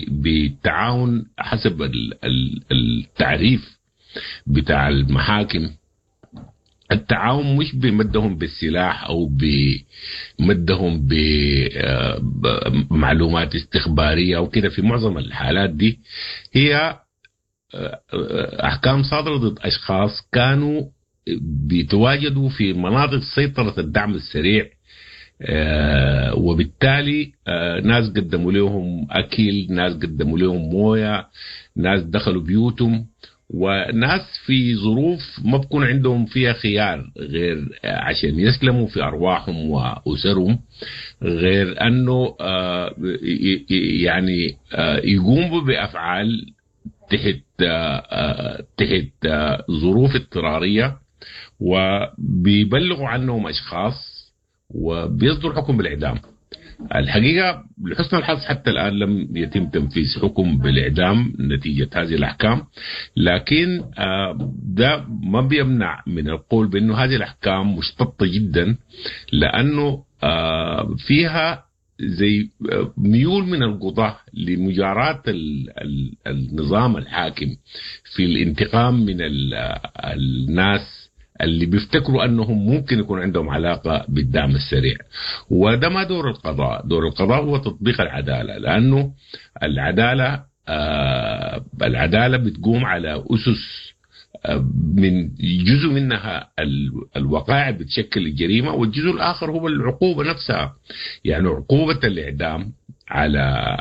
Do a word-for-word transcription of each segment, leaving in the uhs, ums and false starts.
بالتعاون حسب التعريف بتاع المحاكم. التعاون مش بمدهم بالسلاح او بمدهم بمعلومات استخباريه او كده. في معظم الحالات دي هي احكام صادرة ضد اشخاص كانوا بيتواجدوا في مناطق سيطرة الدعم السريع، وبالتالي ناس قدموا لهم اكل، ناس قدموا لهم مويه، ناس دخلوا بيوتهم، وناس في ظروف ما بكون عندهم فيها خيار غير عشان يسلموا في ارواحهم واسرهم، غير انه يعني يقوموا بافعال تحت تحت ظروف اضطراريه، وبيبلغوا عنهم اشخاص وبيصدر حكم بالاعدام. الحقيقة لحسن الحظ حتى الان لم يتم تنفيذ حكم بالاعدام نتيجة هذه الاحكام، لكن ده ما بيمنع من القول بانه هذه الاحكام مشتطه جدا، لانه فيها زي ميول من القضاة لمجاراة النظام الحاكم في الانتقام من الناس اللي بيفتكروا انهم ممكن يكون عندهم علاقة بالدعم السريع. وده ما دور القضاء، دور القضاء هو تطبيق العدالة، لانه العدالة آه العدالة بتقوم على اسس آه من جزء منها الوقائع بتشكل الجريمة، والجزء الاخر هو العقوبة نفسها. يعني عقوبه الاعدام على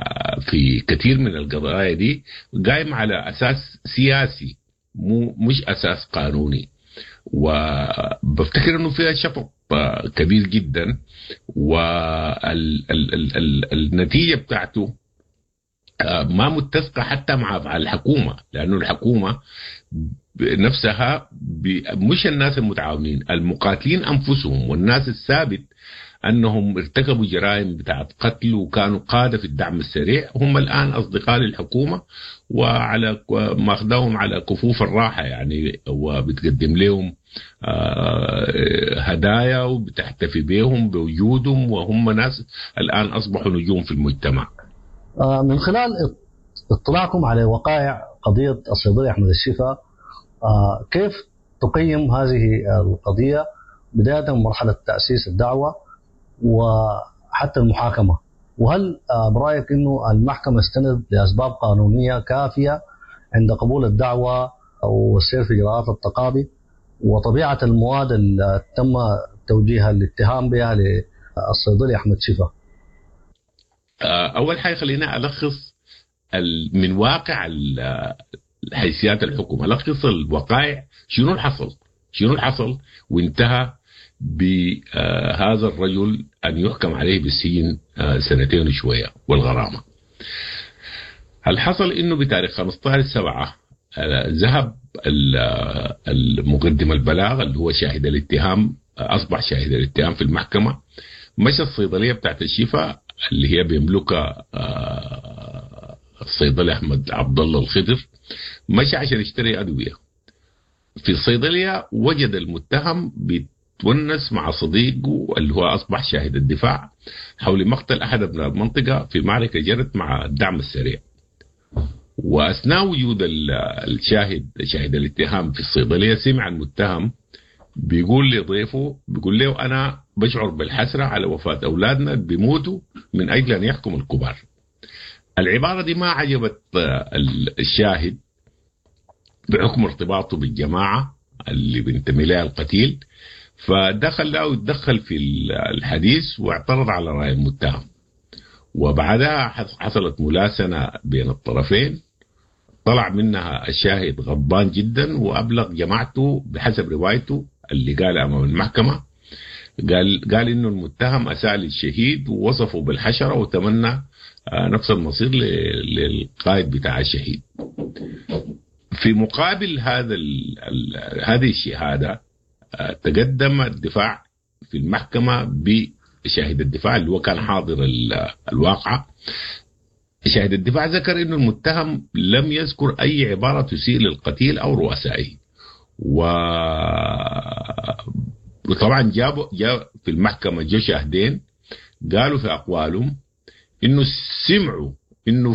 في كثير من القضايا دي قايمة على اساس سياسي، مو مش اساس قانوني. وبفتكر انه فيها شفق كبير جدا، والنتيجة بتاعته ما متسقه حتى مع افعال الحكومة، لانه الحكومة نفسها مش الناس المتعاونين، المقاتلين انفسهم والناس الثابت انهم ارتكبوا جرائم بتاعت قتل وكانوا قاده في الدعم السريع، هم الان اصدقاء للحكومة وعلى ماخذاهم على كفوف الراحة يعني، وبتقدم لهم هدايا وبتحتفي بهم بوجودهم، وهم ناس الان اصبحوا نجوم في المجتمع. من خلال اطلاعكم على وقائع قضية الصيدلي احمد الشفا، كيف تقيم هذه القضية بداية من مرحلة تاسيس الدعوة وحتى المحاكمة؟ وهل برأيك أنه المحكمة استندت لأسباب قانونية كافية عند قبول الدعوة والسير في إجراءات التقاضي، وطبيعة المواد اللي تم توجيه الاتهام بها للصيدلي أحمد شفا؟ أول حاجة خلينا ألخص من واقع حيثيات الحكم، ألخص الوقائع، شنو اللي حصل، شنو اللي حصل وانتهى بهذا الرجل أن يحكم عليه بالسجن سنتين وشوية والغرامة. هل حصل إنه بتاريخ خمسة عشر سبعة ذهب المقدم البلاغ اللي هو شاهد الاتهام، أصبح شاهد الاتهام في المحكمة، مشى الصيدلية بتاعت الشفاء اللي هي بيملكها الصيدلي أحمد عبد الله الخضر، مشى عشان يشتري أدوية. في الصيدلية وجد المتهم بيتونس مع صديقه اللي هو أصبح شاهد الدفاع حول مقتل أحد أبناء المنطقة في معركة جرت مع الدعم السريع. وأثناء وجود الشاهد شاهد الاتهام في الصيدلية، سمع المتهم بيقول لضيفه، بيقول له أنا بشعر بالحسرة على وفاة أولادنا بيموتوا من أجل أن يحكم الكبار. العبارة دي ما عجبت الشاهد بحكم ارتباطه بالجماعة اللي بينتمي لها القتيل، فدخل له يتدخل في الحديث واعترض على رأي المتهم. وبعدها حصلت ملاسنة بين الطرفين، طلع منها الشاهد غضبان جدا وأبلغ جماعته بحسب روايته اللي قال أمام المحكمة، قال قال إنه المتهم أساء للشهيد ووصفه بالحشرة وتمنى نفس المصير للقائد بتاع الشهيد. في مقابل هذا ال ال هذه الشهادة تقدم الدفاع في المحكمة بشاهد الدفاع اللي هو كان حاضر الواقعة. شاهد الدفاع ذكر إنه المتهم لم يذكر أي عبارة تسيء للقتيل أو رؤسائه، و وطبعا جابوا جاب في المحكمة جو شاهدين قالوا في أقوالهم إنه سمعوا إنه